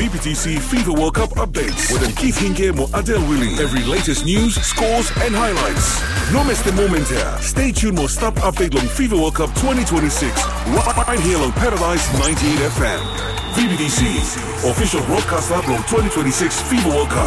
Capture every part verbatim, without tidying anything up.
B B T C FIFA World Cup updates wetem Keith Hinge mo Adel Willie. Every latest news, scores and highlights. No miss the moment here. Stay tuned mo stap update long FIFA World Cup twenty twenty-six right here on Paradise ninety-eight F M. B B T C, official broadcaster long twenty twenty-six FIFA World Cup.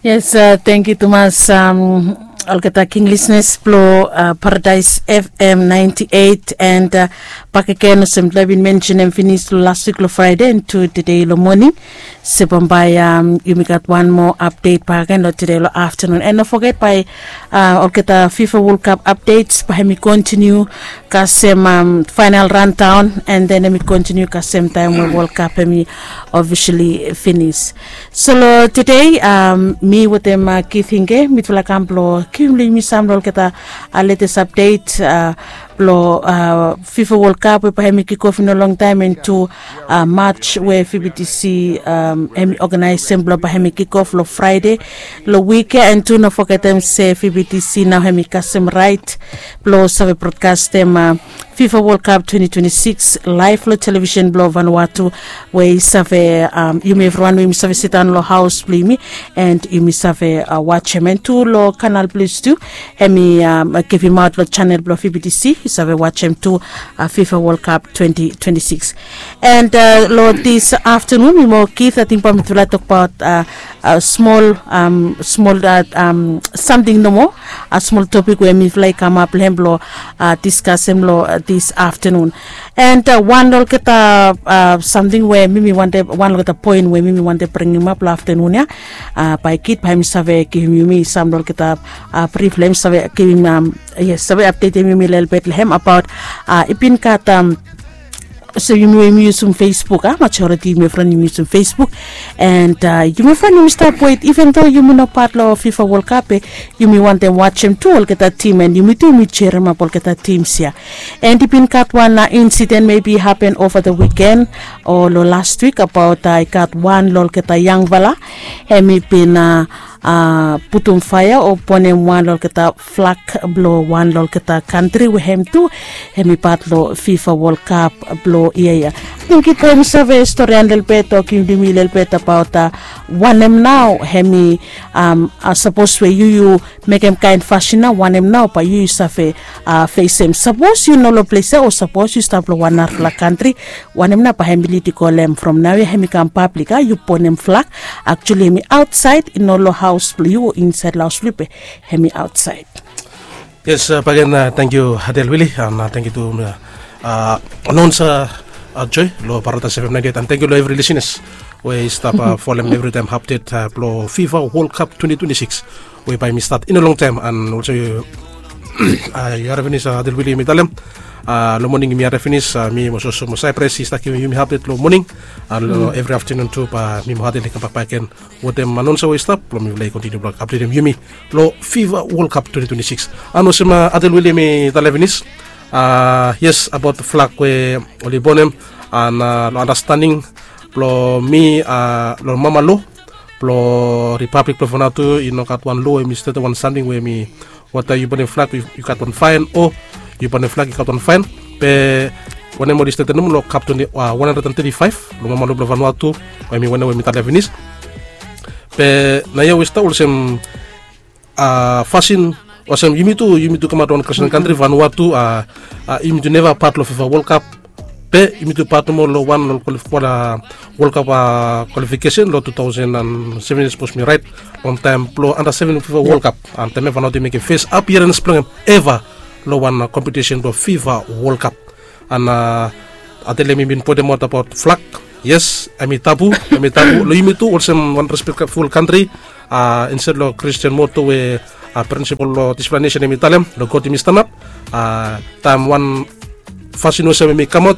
Yes, thank you tumas, um, olgeta king listeners blo, uh, Paradise F M ninety-eight and, uh, bakegen olsem mifala bin mensenem finis lo last week lo Friday and tu today lo morning. Se bambae, um, yumi gat wan moa update bakegen lo today lo afternoon. And no forget bae, uh, olgeta FIFA World Cup updates bae hemi continue kasem, um, final rundown and then hemi continue kasem taem we World Cup hemi officially finis. So lo today, um, mi wetem, uh, Keith Hinge mifala kam blo givim lo yumi sam lo olgeta, uh, latest update, uh, blo, uh, FIFA World Cup we bae hemi kick off i no longtaem and tu, uh, match we B B T C, um, hemi organizem blo bae hemi kick off lo Friday lo wik ya and tu no fogetem se B B T C nao hemi kasem right blo save broadcastem, uh, FIFA World Cup twenty twenty-six live lo television blo Vanuatu we i save, um, yumi evriwan we yumi save sidaon lo haos blo yumi and yumi save, uh, wajem and tu lo Canal Plus tu hemi, um, givimaot lo channel blo B B T C i save wajem tu, uh, FIFA World Cup twenty twenty-six. And, uh, lo this afternoon mi mo Keith ating bae mifala tokbaot, uh, uh, smol, um, smol, uh, um, samting nomo, a smol topik we mifala i kamap lo hem blo, uh, diskasem lo, uh, this afternoon. And, uh, wan lo olgeta, uh, samting we mi mi wantem, wan lo olgeta poen we mi mi wantem bringimap lo afternoon ya, uh, bae Keith bae hemi save givim yumi sam lo olgeta, uh, brif lo hem save givim, um, yes, save updatem yumi lelebet lo hem abaot, uh, i bin gat, um, so yumi we yumi yusum Facebook, a majority yumi evriwan yumi yusum Facebook. And, uh, yumi evriwan yumi stap wet even though yumi no pat lo FIFA World Cup be yumi wantem wajem tu olgeta tim and yumi tu yumi jerimap olgeta tims ya. And i bin gat wan, uh, incident maybe hapen ova the weekend o lo last week abaot, uh, i gat wan lo olgeta yangfala hemi bin, uh, uh, putum faea o bonem wan lo olgeta flag blo wan lo olgeta kantri we hem tu hemi pat lo FIFA World Cup blo yia ya. Ating Keith bae hemi save storian lelebet o givim yumi lelebet abaot, uh, wanem nao hemi, um, uh, sapos we yu yu mekem kaen fasin nao wanem nao bae yu yu save, uh, fesem. Sapos yu no lo ples ya o sapos yu stap lo wan narafala kantri, wanem nao bae hemi lid i go lo hem from naoia hemi kam pablik, a, yu bonem flag, actually hemi aotsaed, i no lo haos blo yu o insaed lo haos blo yu be hemi aotsaed. Yes, uh, bakegen, uh, tangkiu Adel Willie and, uh, tangkiu tu, uh, uh, announcer, uh, Joy lo Paradise F M ninety-eight and tangkiu lo evri listeners we i stap, uh, folem evritaem update, uh, blo FIFA World Cup twenty twenty-six we bae hemi stat i no longtaem and olsem, uh, yu harim finis, uh, Adel Willie hemi talem, uh, lo moning yumi harim finis, uh, mi mo Soso mo Cyprus i stap givim yumi update lo moning and lo evri afternoon tu bae mi mo Adel i kambak bakegen wetem announcer we i stap blo mifala i kontiniu blo updatem yumi lo FIFA World Cup twenty twenty-six. And olsem, uh, Adel Willie hemi talem finis, uh, yes, abaot flag we oli bonem and, uh, lo andastaning blo mi, uh, lo mama lo blo Republic blo Vanuatu i no gat wan lo hemi statem wan samting we hemi wata yu bonem flag yu gat wan faen o yu bonem flag yu gat wan faen. Be wanem oli statem nomo lo kap twenty, uh, one hundred and thirty-five lo mama lo blo Vanuatu we hemi wanem we mi talem finis. Be naoia we i stap olsem, uh, fasin olsem yumi tu, yumi tu kamaot wan Kristian kantri Vanuatu, uh, uh, yumi tu neva pat lo FIFA World Cup. Be yumi tu pat nomo lo wan lo kwalif-, wan, uh, World Cup, uh, kwalifikesen lo two thousand and seven, sapos mi raet, longtaem blo under seven FIFA World Cup. And taem ya Vanuatu i mekem fes apiarens blo hem eva lo wan, uh, kompetisen blo FIFA World Cup. And, uh, Adel hemi bin pointimaot abaot flag. Yes, hemi tabu, hemi tabu. Lo yumi tu olsem wan respektful kantri, uh, insted lo Kristian moto we, uh, prinsipol lo dispela nesen hemi talem lo God yumi stanap. Uh, taem wan fasin olsem hemi kamaot,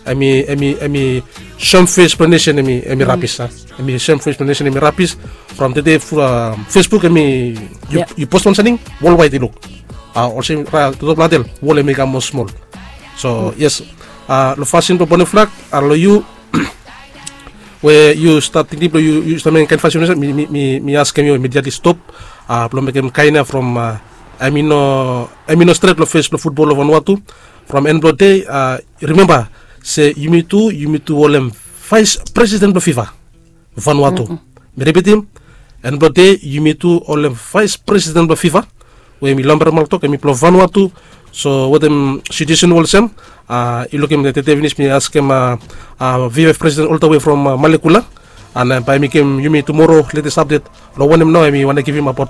hemi, hemi, hemi soem fes blo nesen hemi, hemi rabis, a. Hemi soem fes blo nesen hemi rabis. From tede, uh, Facebook hemi, yu, yu post wan samting, wol waet i luk. Uh, olsem, uh, toktok blo Adel, wol hemi kam moa smol. So yes, uh, lo fasin blo bonem flag, uh, lo yu we yu stat tingting blo yu, yu stat mekem kaen fasin, mi, mi, mi, mi askem yu immediately stop, uh, blo mekem kaen ya from, uh, hemi no, hemi no stret lo fes blo futbol lo Vanuatu. From en blong dei, rimemba se yumi tu yumi tu olem vais presiden blong fifa, vanua tu. Mi ripitim, en blong dei yumi tu olem vais presiden blong fifa, we mi lomber maltok em i blong vanua tu. So wetem situesen olsem, yu lukim tete finis mi askem vvf presiden oltawe from malekula, an bae mi givim yumi tumoro letes apdet long wanem nao em i wanem givim abaot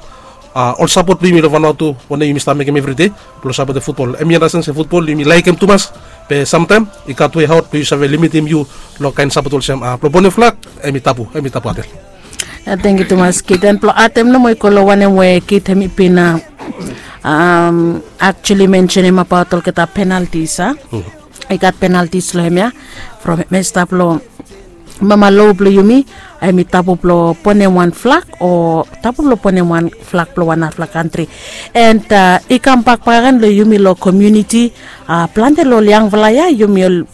ol sapot blong yumi long vanua tu, wanem yumi stap mekem evri dei blong sapotem futbol. Em i anasten se futbol yumi laikim tumas, be samtaem i gat we haot blong yu save limitim yu long kaen sapot olsem blong bonem flak. Em i tabu, em i tabu atel. Tengkiu tumas kiden blong atem nomo i go long wanem we kid hem i bin aktuali mensenim abaot olgeta penaltis a. I gat penaltis long hem ya, from hem i stap long mama lo blong yumi, hem i tabu blong bonem wan flak o tabu blong bonem wan flak blong wan narafala kantri. And i kambak bakagen long yumi long komiuniti, plante long ol yangfala ya yumi ol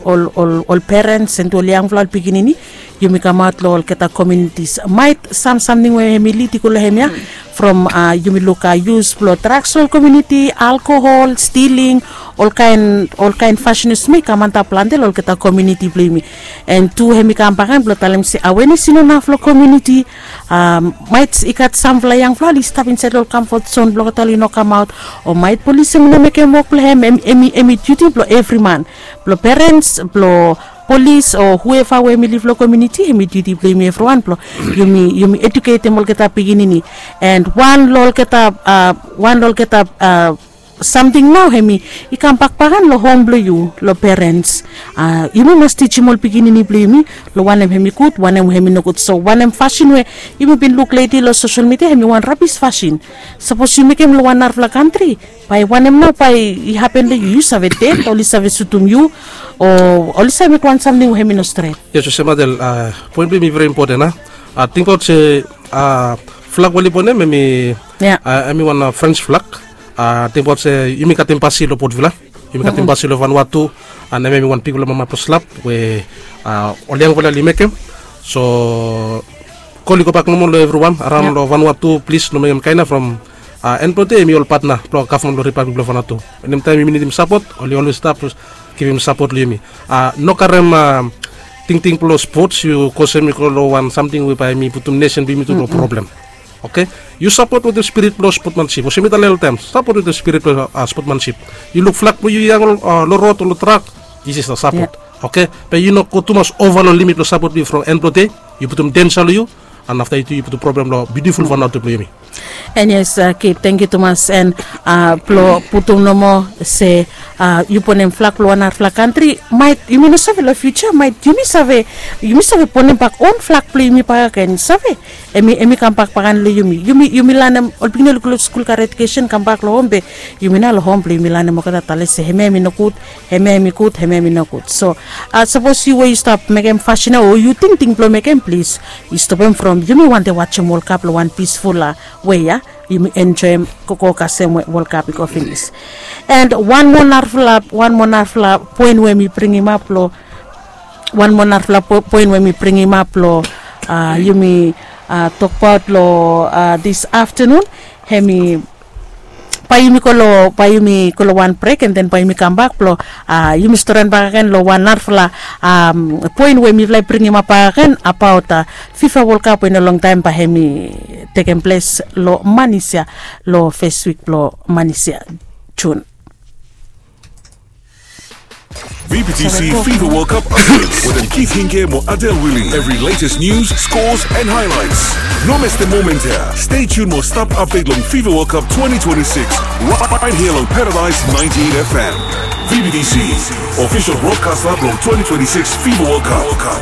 ol ol ol perens and ol yangfala ol pikinini, yumi kamaot long olgeta komiunitis. Mait sam samting we hem i lid i go long hem ya, from yumi luk yus blong draks long komiuniti, alkohol, stiling, olkaen olkaen fasin olsem ya i kam antap plante long olgeta komiuniti blong yumi. And tu hem i kam bakaen blong talem se awenes i no naf long komiuniti. Mait i gat samfala yangfala oli stap insaed long ol kamfot zon blong olgeta oli no kamaot, o mait polis hem i no mekem wok blong hem. Hem i duti blong evri man, blong perens, blong polis o hueva we hem i liv long komiuniti, hem i duti blong yumi evriwan blong yumi yumi ejuketem olgeta pikinini. And wan long olgeta wan long olgeta samting nao hem i kambak bakaen long hom blong yu, long perens. Yumi mas tijim ol pikinini blong yumi long wanem hem i gud, wanem hem i nogud. So wanem fasin we yumi bin luk leti long sosel midia hem i wan rabis fasin. Sapos yu mekem long wan narafala kantri, bae wanem nao bae i hapen long yu? Yu save ded, oli save sutum yu, o oli save mekem wan samting we hem i no stret. Yes, olsem atel, poen blong yumi i veri impoten a. Tingbaot se flak we oli bonem hem i hem i wan frens flak. Tingbaot se yumi gat embasi long potvila, yumi gat embasi long vanua tu. An hem hem i wan bigfala mama blong slap we ol yangfala oli mekem. So kol i gobak nomo long evriwan araon long vanua tu, plis no mekem kaen ya from en blong dei hem i ol patna blong gavman blong ripablik blong vanua tu. Enemtaem yumi nidim sapot oli olwes stap givim sapot long yumi. No karem tingting blong spots yu kosem i go long wan samting we bae hem i putum nesen blong yumi tu long problem. Oke, yu sapot wetem spirit blong spotmansip olsem mi talem oltaem, sapot wetem spirit blong spotmansip. Yu luk flak blong yu i hang long rod o long trak, this is a sapot. Oke, be yu no go tumas ova long limit blong sapot blong yu from en blong dei yu putum densa long yu. An afta yu tu yu putum problem long biutiful vanua tu blong yumi. And yes, kid, tengkiu tumas. And blong putum nomo se yu bonem flak blong wan narafala kantri, mait yumi no save long fiuja mait yumi save yumi save bonem bak on flak blong yumi bakagen, save. Em i em i kambak bakan long yumi. Yumi yumi lanem ol pikinini oli go long skul gat ejukesen kambak long hom be yumi nao long hom blong yumi lanem olgeta tale se hemia em i nogud, hemia em i gud, hemia em i nogud. So sapos yu we yu stap mekem fasin ya o yu tingting blong mekem, plis yu stopem from yumi wantem wajem World Cup long wan pisful we ya. Yumi enjoem gogo kasem we World Cup i go finis. And wan moa narafala wan moa narafala poen we mi bringimap long wan moa narafala poen we mi bringimap long yumi tokbaot long dis aftenun. Hemi bae yumi go long bae yumi go long wan brek and then bae yumi kambak blong yumi storian bakagen long wan narafala poen we mifala i bringimap bakagen abaot fifa World Cup we i no longtaem bae hemi tekem ples long manis ya, long fes wik blong manis ya, Jun. VBTC FIFA World Cup updates wetem Keith Hinke mo Adel Willie. Every latest news, scores and highlights. No mes the moment here. Stay tuned mo stap update long FIFA World Cup twenty twenty-six right here long Paradise ninety-eight FM. VBTC, official broadcaster blong twenty twenty-six FIFA World Cup.